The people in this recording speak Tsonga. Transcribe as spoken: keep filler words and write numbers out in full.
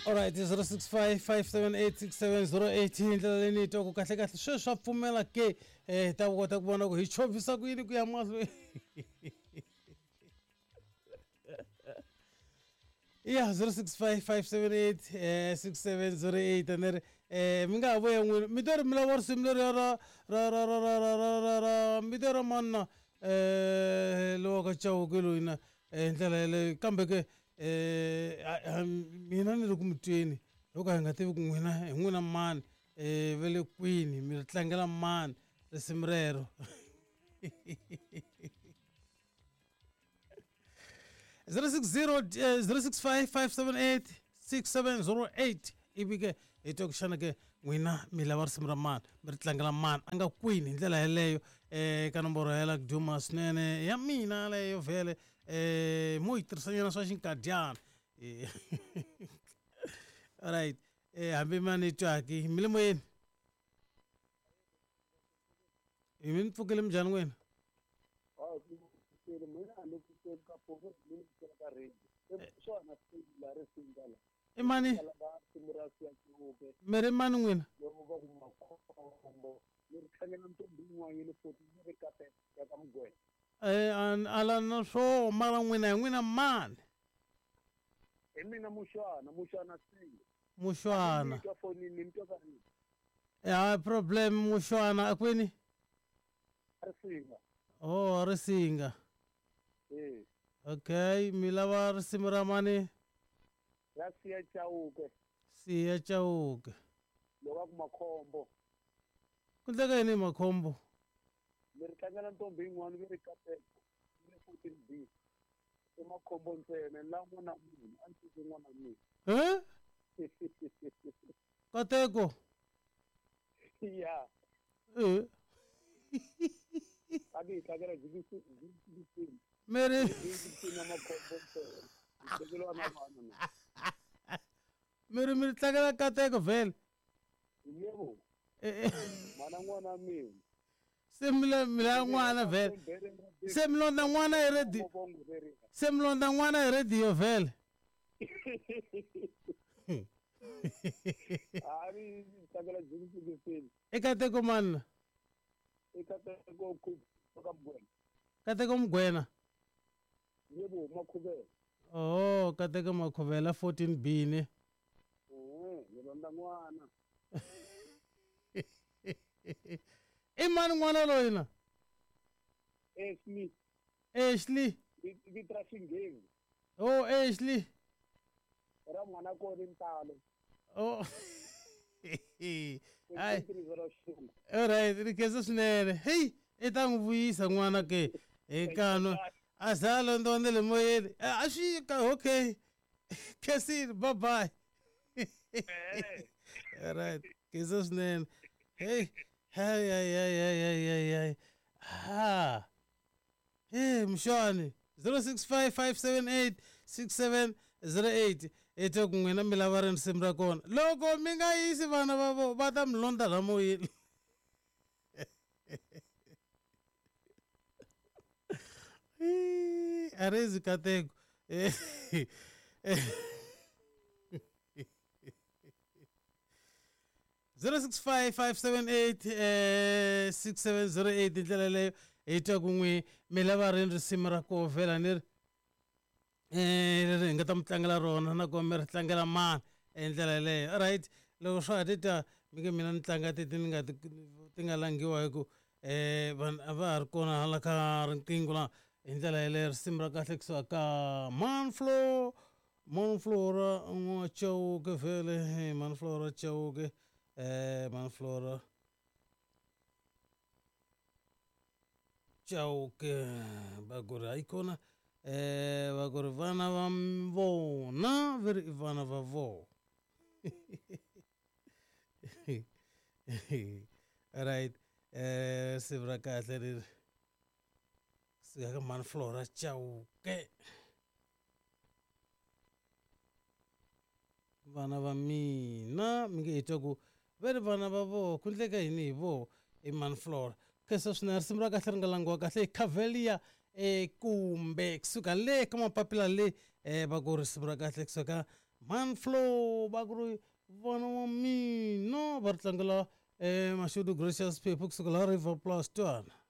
Alright, zero six five five seven eight six seven zero eight hi ndlela leyi ni yi twaku kahle kahle sweswi swa pfumela ke eh ta kota ku vona ku hi chovhisa ku yini ku ya mahlweni. Ya zero six five five seven eight six seven zero eight ni ri eh mi nga ha vuya n'wini mi to ri mi lava risimu leriya ra ra ra ra ra ra ra ra ra mi to ra mani na eh lowa ka Chauke loyi na hi ndlela yeleyo kambe ke eh mina ni ri ku mi tweni loko hi nga tivi ku n'wina hi n'wina mani eh va le kwini mi ri tlangela mani risimu rero. zero six zero zero six five five seven eight six seven zero eight ivi ke hi twa ku xana ke n'wina mi lava risimu ra mani mi ri tlangela mani a nga kwini hi ndlela yeleyo um ka nomboro ya la ku duma swinene ya mina leyo vhele um mo yi tirhisanyana swa xinkadyana. Alright, um hambi ma ni twaki mi le moyeni hi mi ni pfukile minjhani n'wina? I mani mi ri mani n'wina? Eh ala na swo mara n'wina hi n'wina mani? Hi mina Muxwana, Muxwana Singh. Muxwana. Eh problem Muxwana akwini? Risinga. Oh Risinga. Eh. Okay, mi lava risimu ra mani? Ra Siya Chauke. Siya Chauke. Loko ku makhombo. Ku ndleka yini makhombo? Mi ri tlangela ntombi yin'wana mi ri Kateko, mi ri fourteen B. I makhombo ntsena la n'wana munhu a ndzi n'wana mina. Eh? Kateko. Ya. Eh. A ni tlangela G B. Mary Mary mi tlangela Kateko vhele. Yebo. Mana n'wana mina. Se mi la mi la n'wana vhele. Se mi londa n'wana hi radio. Se mi londa n'wana hi radio vhele. A ni tlangela G B. I Kateko mani? I Kateko ku ka Mugwena. Kateko Mugwena. Yebo Makhuvela. Oh, Kateko Makhuvela fourteen B ne. Eh, ni londa n'wana. I mani n'wana loyi na? Ashley. Ashley. Vito ra Xinghezi. Oh, Ashley. Ra n'wana kona ntalo. Oh. Ai. Alright, ri khensa swinene. Hey, i ta n'wi vuyisa n'wana ke eka a za londonde le moyeni. A swi ka okay. Khensile, bye bye. Alright, khensa swinene. Hey, hey hey hey hey hey hey. Ha. Hey, Mshani zero six five five seven eight six seven zero eight i twa ku n'wina mi lava risimu ra kona. Loko mi nga yisi vana va vo va ta mi londa la moyeni. Arezi Kateko. zero six five five seven eight six seven zero eight hi ndlela leyo hi twa ku n'wi mi lava rini risimu ra koho vhela ni ri eh leri hi nga ta mi tlangela rona nakona mi ri tlangela mani hi ndlela yeleyo. Alright, loko swa ha tita mi nge mina ni tlanga teti ni nga ti nga langiwa hi ku eh vanhu a va ha ri kona hala ka riqingho la hi ndlela yeleyo. Risimu ra kahle kusuka ka Manflo Manflora N'wa-Chauke vhele Manflora Chauke eh Manflora Chauke va ku ri hayi kona eh va ku ri vana va vona ve ri i vana va vona. Alright, eh risimu ra kahle leri kusuka ka Manflora Chauke. Vana va mina mi nge hi twa ku va ri vana va voho ku ndleka yini hi voho i Manflora. Khensa swinene risimu ra kahle ri nga langiwa kahle hi Cavelia eh kumbe kusuka le ka mapapila le eh va ku risimu ra kahle kusuka Manflow va ku ri vana wa mina va ri tlangela um Mashudu Gracious Phephu kusuka laha River Plus. Twana.